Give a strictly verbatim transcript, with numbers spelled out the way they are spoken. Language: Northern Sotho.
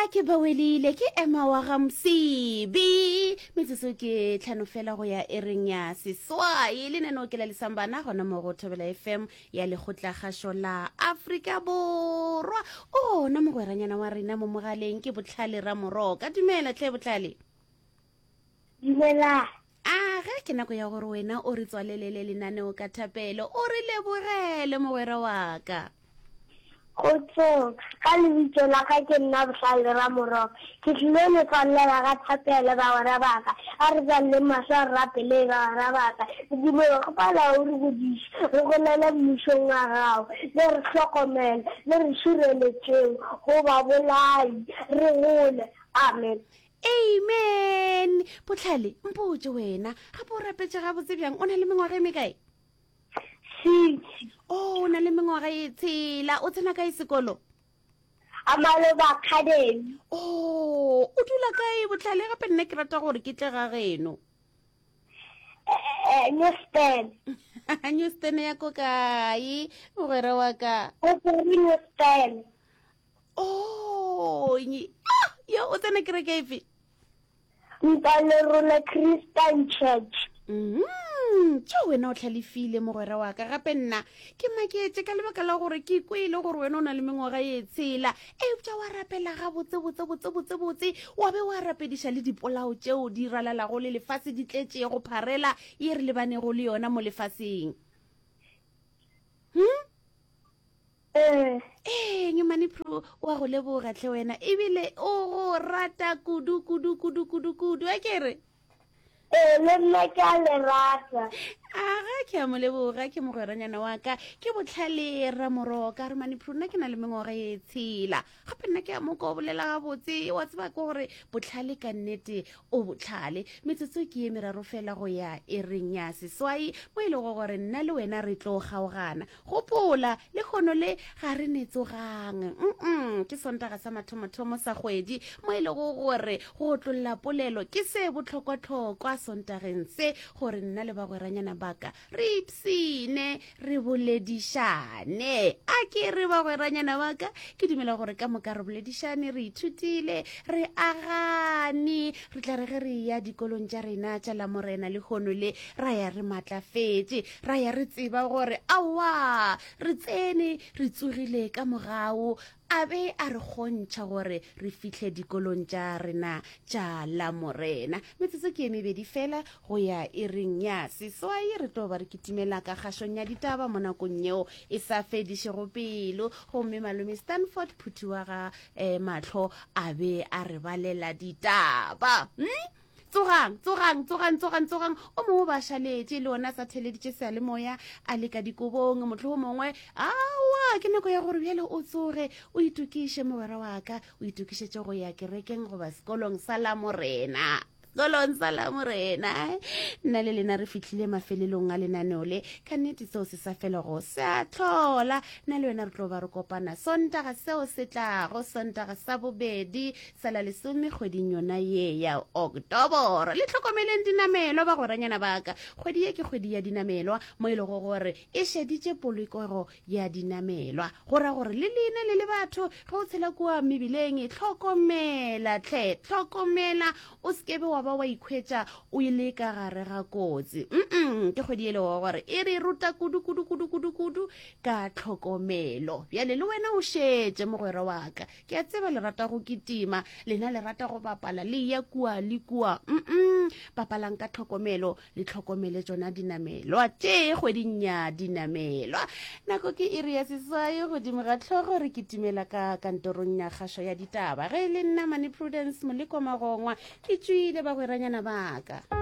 A ke bawelile ke ema wa ga Msibi. Metsotso ke tlhano fela go ya ereng ya seswai. Lenaneo ke la Lesambana gona mo go Thobela F M ya Lekgotlakgašo la Afrika Borwa. Ona mogweranyana wa rena mo mogaleng ke Botlhale Ramoroka. Dumela tlhe Botlhale. Dumela. A ge ke nako ya gore wena o re tswalelele lenaneo ka thapelo, o re lebogele mogwera wa ka. Kgotsong, ka lebitso la ka ke nna Bohlale Ramoroka. Ke tlile le tswalela ka thapelo bagwera ba ka. A re tswaleleng mahlo a re rapeleng bagwera ba ka. Modimo re kgopela o re godiše, re golele mmušong wa gago. Le re hlokomele, le re šireletšeng go babolai, re gole. Amen. Amen. Botlhale, mpotše wena, gape o rapetše gabotse bjang? O na le mengwaga e mekae? Six. O o na le mengwaga e tshela. O tsena kae sekolo? Amaloba Academy. O o dula kae Botlhale? Gape nna ke rata gore ke tle ga geno. Eh, Newston. Newston ya ko kae mogwera wa ka? O tsere Newston. Oh, nye- ah, yo o tsena kereke efe? Ntalerola Christian Church. Mm, tšo wena o tlhalefile mogwera wa ka. Gape nna ke maketše ka lebaka la gore ke kwele gore wena o na le mengwaga e tshela, eupša wa rapela ga botse botse botse botse botse, wa be wa rapediša le dipolao tšeo di ralalago le lefase di tletšego pharela ye re lebanego le yona mo lefaseng. hmm? Eh, Ee, Nyomane Pro wa go leboga tlhe wena, ebile o go rata kudu kudu kudu kudu kudu, a ke re? Eh, le nna ke a le rata. Aga, ke a mo leboga, ke mogweranyana wa ka, ke Botlhale Ramoroka. Re Mane Pro, nna ke na le mengwaga e tshela. Gape nna ke a moka o bolela gabotse, wa tseba ke gore Botlhale ka nnete o botlhale. Metsotso ke ye meraro fela go ya e reng ya seswai, mo e lego gore nna le wena re tlo kgaogana. Gopola, le kgono le ga re ne tsogang, mm ke Sontaga sa mathomothomo sa kgwedi, mo e lego gore go otlolla polelo ke se bohlokwahlokwa Sontageng se, gore nna le bagweranyana baka re ipsine, re boledišane. A ke re bagweranyana baka, ke dumela gore ka moka re boledišane, re ithutile, re agane. Re tla re ge re ya dikolong tša rena tša Lamorena le kgono le, ra ya re maatlafetše, ra ya re tseba gore aowa, re tsene re tsogile ka mogao a be a re kgontšha gore re fihle dikolong tša rena tša Lamorena. Metsotso ke e mebedi fela go ya e reng ya seswai, re tlo ba re kitimela ka kgašong ya ditaba mo nakong yeo e sa fedišego pelo, gomme malome Stanford Phuthi wa ga um mahlo a be a re balela ditaba. hmm? Tsogang, tsogang, tsogang, tsogang, tsogang! O mongwe ba šaletše le ona sa theleditše seyalemoya a le ka dikobong, motlho o mongwe aowa. Ke nako ya gore bjale o tsoge, o itokiše mogwera wa ka, o itokišetše go ya kerekeng goba sekolong sa Lamorena, sekolong sa Lamorena. Nna le lena re fihlile mafelelong a lenaneo le. Ka nnete seo se sa felego se a tlhola. Nna le wena re tlo ba re kopana Sontaga seo se tlago, Sontaga sa bobedi sa la lesome kgweding yona ye ya Oktoboro. Le tlhokomeleng dinamelwa bagweranyana baka. Kgwedi ye ke kgwedi ya dinamelwa, mo e lego gore e šeditše polokego ya dinamelwa. Go ra gore le lena le le batho, ge o tshela kua mebileng, tlhokomela tlhe, tlhokomela, o sekebe wa ba wa ikhwetša o ile ka gare ga kotsi. mm ke kgwedi e lego gore e re ruta kudu kudu kudu kudu kudu ka tlhokomelo. Bjale le wena o šetše mogwera wa ka. Ke a tseba le rata go kitima, lena le rata go bapala, le ya kua le kua. mm bapalang ka tlhokomelo, le tlhokomele tsona dinamelwa tše kgweding ya dinamelwa. Nako ke iri ya seswai godimo ga tlhogo, re kitimela ka kantorong ya kgašo ya ditaba. Ge e le nna Mane Prudence Moleko Magongwa, ke tswile bagweranyana baka.